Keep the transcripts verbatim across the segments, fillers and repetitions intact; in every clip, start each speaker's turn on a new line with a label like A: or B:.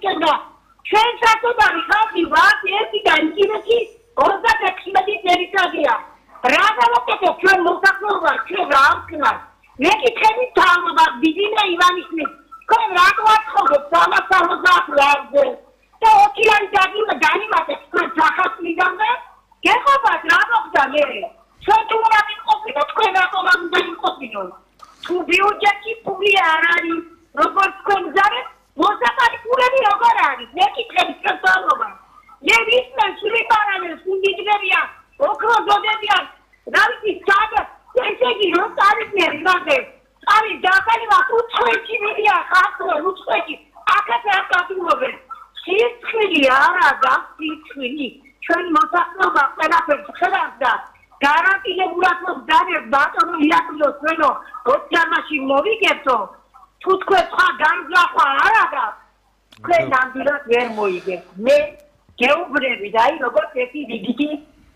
A: გასიკებდა. ჩვენ საკუთარი ხალხი ვართ ერთი და ინტერესი ოცდაექვსი წელიწადია. რა გავაკეთებ ჩვენ მოსახლეობა ჩვენ რა ვქნათ? მეკითხები თავობა ბიძინა ივანიშვილი. თქვენ რა გვაცხობთ სამას სამოცდაათ ლარზე? და ოქი ლარი განიმატეთ თქვენ სახასლიდანვე? გეხობათ რა მოხდა მე? ჩვენ თუ რა ვიყოფინო თქვენ რატომ არ უნდა ვიყოფინო? თუ ბიუჯეტი პული არ არის, როგორც თქვენ ზარეთ, მოსაყარი პულები როგორ არის? მეკითხები თქვენ თავობა. მე ვისმენ სულიპარანეს უნდიძებია, ოქრო ზოდებიან, რა ვიცი სად, ესე იგი რომ წარიგნერი მაგე. არის დაკალივა უცხოეთი მიდია ხალხო უცხოეთი. აქაც არ გაგულობენ. სიცხილი არა და სიცხილი. ჩვენ მოსახლეობა ყველაფერს ხედავთ და გარანტირებულად მოგდარებ ბატონო იაკობოს ჩვენო ოქრომაში მოვიგებთო. თუ თქვენ სხვა განზრახვა არ აქვს, თქვენ ნამდვილად ვერ მოიგებთ. მე გეუბნები და აი როგორც ერთი რიგითი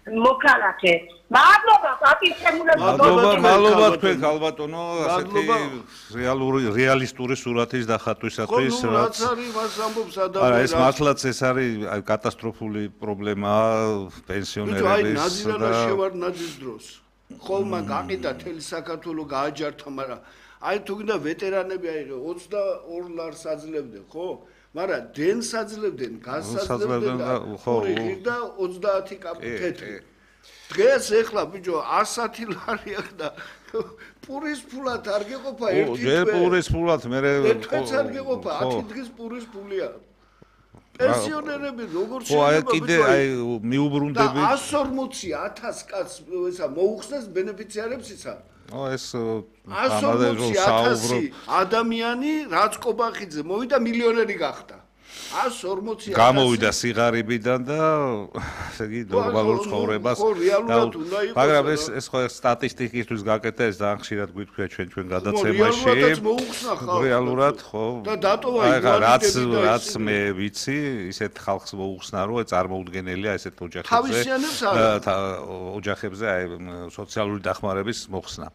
A: მოქალაქე. მადლობა პატივცემულებს.
B: მადლობა, მადლობა თქვენ ალბათონო, ასეთი რეალური რეალისტური სურათის დახატვისათვის.
C: ხო, რაც არის მას ამბობს ადამიანი.
B: არა, ეს მართლაც ეს არის კატასტროფული პრობლემაა პენსიონერების.
C: აი, ნაძირანაში ვარ ნაძის დროს. ხოლმე გაყიდა თელი საქართველოს გააჯართა, მაგრამ აი თუ გინდა ვეტერანები აი ოცდაორ ლარს აძლევდნენ, ხო? მაგრამ დენს აძლევდნენ, გასაძლევდნენ და ორი ღირდა ოცდაათი კაპი თეთრი. დღეს ეხლა ბიჭო ასათი ლარი აქვს და პურის ფულად არ გეყოფა ერთი თვე.
B: ჯერ პურის ფულად მე
C: თვეც არ გეყოფა, ათი დღის პურის ფულია. პენსიონერები როგორ
B: შეიძლება? ხო, აი კიდე აი მიუბრუნდები.
C: და εκατს ორმოცი ათას კაცს ესა მოუხსნეს ბენეფიციარებს ისა.
B: ო ეს
C: εκατს ორმოცი ათასი ადამიანი რაც კობახიძე მოვიდა მილიონერი გახდა. εκατს ორმოცი ათასი
B: გამოვიდა სიღარიბიდან და ესე იგი ნორმალურ ცხოვრებას მაგრამ ეს ეს ხო სტატისტიკისთვის გაკეთდა ეს ძალიან ხშირად გვითქვია ჩვენ ჩვენ გადაცემაში რეალურად ხო
C: და დატოვა
B: რაც რაც მე ვიცი ისეთ ხალხს მოუხსნა რომ წარმოუდგენელია ესეთ ოჯახებზე ოჯახებზე აი სოციალური დახმარების მოხსნა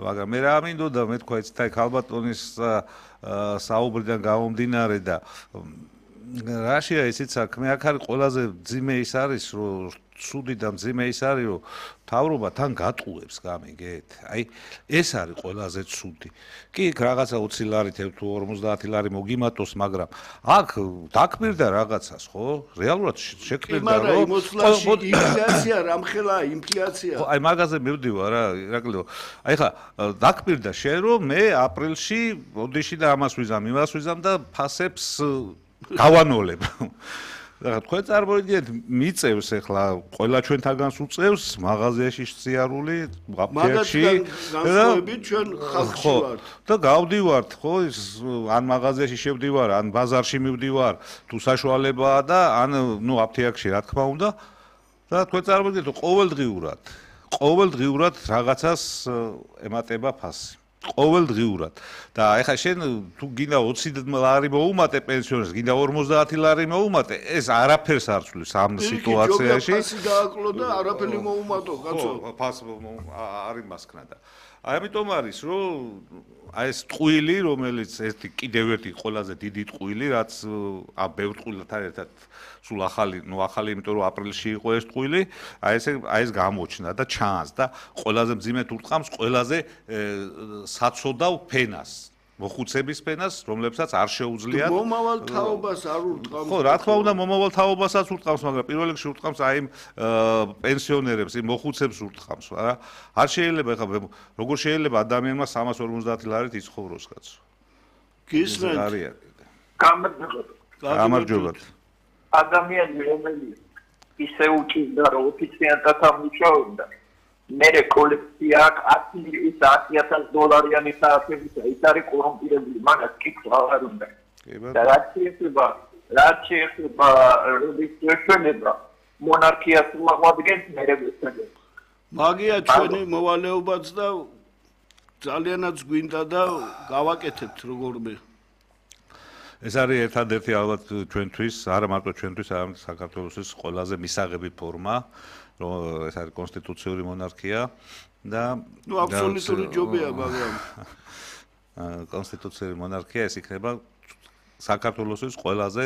B: მაგრამ მე რა მინდოდა მე თქვა ეს თაი ქალბატონის საუბრიდან გამომდინარე და რაშია ისიც საქმე აქ არის ყველაზე ძიმე ის არის რომ ცუდი და ძიმე ის არის რომ თავრობა თან გატყუებს გამიგეთ აი ეს არის ყველაზე ცუდი კი რაღაცა ოცი ლარი თუ ორმოცდაათი ლარი მოგიმატოს მაგრამ აქ დაკბირდა რაღაცას ხო რეალურად შექმნდა
C: რომ ინფლაცია რამხელა ინფლაცია
B: აი მაგაზე მივდივარ რა ირაკლიო აი ხა დაკბირდა შენ რომ მე აპრილში ოდიში და ამას ვიზამ იმას ვიზამ და ფასებს გავანოლებ. რა თქვენ წარმოიდგინეთ მიწევს ახლა ყველა ჩვენთაგანს უწევს მაღაზიაში სიარული აფეთქში
C: განსხვავებით ჩვენ ხალხში ვართ.
B: და გავდივართ ხო ის ან მაღაზიაში შევდივარ ან ბაზარში მივდივარ თუ საშუალებაა და ან ნუ აფეთქში რა თქმა უნდა და თქვენ წარმოიდგინეთ ყოველდღიურად ყოველდღიურად რაღაცას ემატება ფასი. ყოველდღიურად და ეხლა შენ თუ გინდა ოცი ლარი მოუმატე პენსიონერს გინდა ორმოცდაათი ლარი მოუმატე ეს არაფერს არ ცვლის ამ სიტუაციაში
C: ფასი გააკლო და არაფერი მოუმატო კაცო
B: ფას არის მასქნა და აი ამიტომ არის რომ აი ეს ტყუილი რომელიც ერთი კიდევ ერთი ყველაზე დიდი ტყუილი რაც ა ბევრ ტყუილთან ერთად სულ ახალი ნუ ახალი იმიტომ რომ აპრილში იყო ეს ტყუილი აი ეს აი ეს გამოჩნდა და ჩანს და ყველაზე მძიმედ ურტყამს ყველაზე საცოდავ ფენას მოხუცების ფენას რომლებსაც არ შეუძლიათ
C: მომავალ თაობას არ ურტყამს
B: ხო რა თქმა უნდა მომავალ თაობასაც ურტყამს მაგრამ პირველ რიგში ურტყამს აი იმ პენსიონერებს იმ მოხუცებს ურტყამს რა არ შეიძლება ეხლა როგორ შეიძლება ადამიანმა სამას ორმოცდაათი ლარით იცხოვროს კაცო
C: გისმენთ
B: გამარჯობა
D: ადამიანი რომელიც ისე უჭირდა რომ ოფიციალურად ამუშავებდა მერე კოლექცია ათი ათას დოლარიანი საათებისა ის არის კორუმპირებული მაგას კითხვა არ უნდა და რაც შეეხება რაც შეეხება რეგისტრირება მონარქიას მოაგვადგენს მერე ვესწრებს
C: მაგია ჩვენი მოვალეობაც და ძალიანაც გვინდა და გავაკეთებთ როგორმე
B: ეს არის ერთადერთი ალბათ ჩვენთვის არა მარტო ჩვენთვის არამედ საქართველოს ყველაზე მისაღები ფორმა რომ ეს არის კონსტიტუციური მონარქია და
C: ნუ აბსოლუტური ჯობია მაგრამ
B: კონსტიტუციური მონარქია ეს იქნება საქართველოს ყველაზე